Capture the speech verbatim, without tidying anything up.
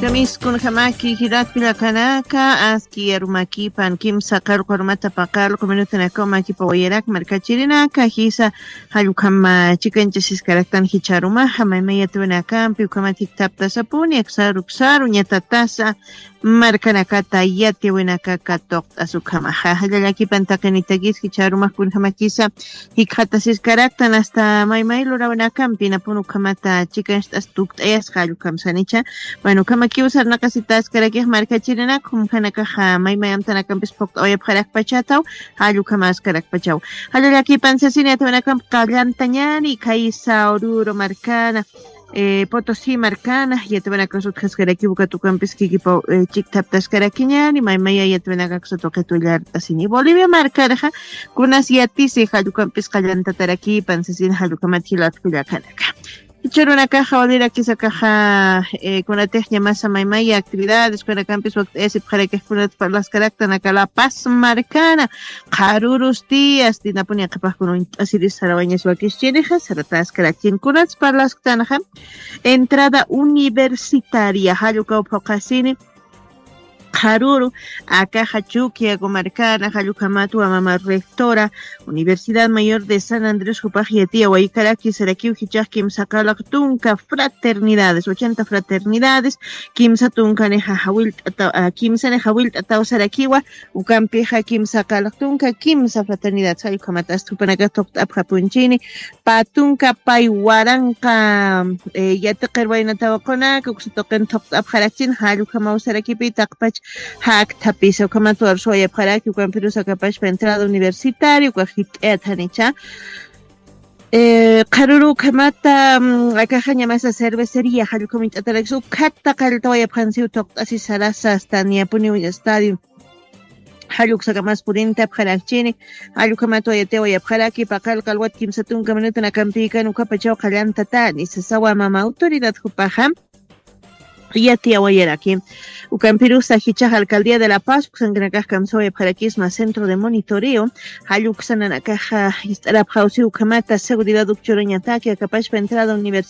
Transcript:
Kamiskunjamaki jiratpi llakanaka, aski arumakipan kimsa qarqu arumata paqarqu minutanakaw makipa wayarak markachirinaka jisa. Jallukama chikanchasiskaraktan jicharumaja maymayatawinakampi ukamata jiktaptasapuni aksaru ksaru ñatatasa markanakata yatiwinakaka tuqt'as ukhamaja. Jallallakipan taqinitakis jicharumakunjamakisa jikxatasiskaraktan asta maymay lurawinakampi napun ukhamata chikanst'as tukt'ayasqa jallukam sanicha. Bueno, ukhamakiw sarnaqasitaskarakix markachirinakum janakaxa maymay amtanakampis phuqt'awayapxarakpachataw. Jallukamaskarakpachaw. Jallallakipan sasini atawinakamp qallantañani khaysa ururu markana, eh, Potosí markana yatawinakasut jaskarakiw katukampis kikipaw, eh, chiktaptaskarakiñani maymaya yatawinakaksa tuqitullart'asini Bolivia markarja. Kunas yatisi jallukampis qallantatarakipan sasini jallukamat jilatkullakanaka. Churunakaxa walirakisakaxa, eh, kunatixña masa maymaya actividades kunakampis wakt'ayasipxarakix kunat parlaskaraktanaka la paz markana. Qharurus días dinapuni aqhapaqkuna uñt'asiris sarawañas wakischinixa sarataskarakchin kunats parlasktanxa. Entrada universitaria jallukaw phuqasini qharuru akaxa chuki agumarkana jallukhamatwa mama rectora universidad mayor de san andrés jupax yatiya waykaraki sarakiw jichax kimsa qalaq tunka fraternidades ochenta fraternidades. Kimsa tunkanixa jawillt'ataw kimsanixa jawillt'ataw sarakiwa. Ukampixa kimsa qalaq tunka kimsa fraternidades jallukhamata asta jupanakax tuqt'apxapunchini. Patunka pay waranqa, eh, yatiqir waynatawaqunaka uksa tuqin thuqt'apxarakchin jallukhamaw sarakipi taqpach. Jakthapisa ukhamat warsuwayapxaraki ukampirus akapachpa entrada universitaria uka jit'ayat janicha. Eh, qharuru ukhamata, mm, akaxaña masa cervecería jallukhamuñt'atarakis ukhata qalltawayapxansiw thuqt'asi sarasa asta niyapuniw estadio. Jalluksakamas purinta apxarakchini. Jallukhamatwa yatiwayapxaraki paqal qalwat kimsa tunka minutan akampikan ukapachaw qallantatani sasawa mama autoridad jupaxa. Yatiyawayaraki. Ukampirusa jichax alcaldía de la paz uksankanakax kamsawayapxarakisma centro de monitoreo. Jalluksananakaxa ist'arapxawsi ukhamata seguridad ukchurañataki akapashpa entrada universitaria.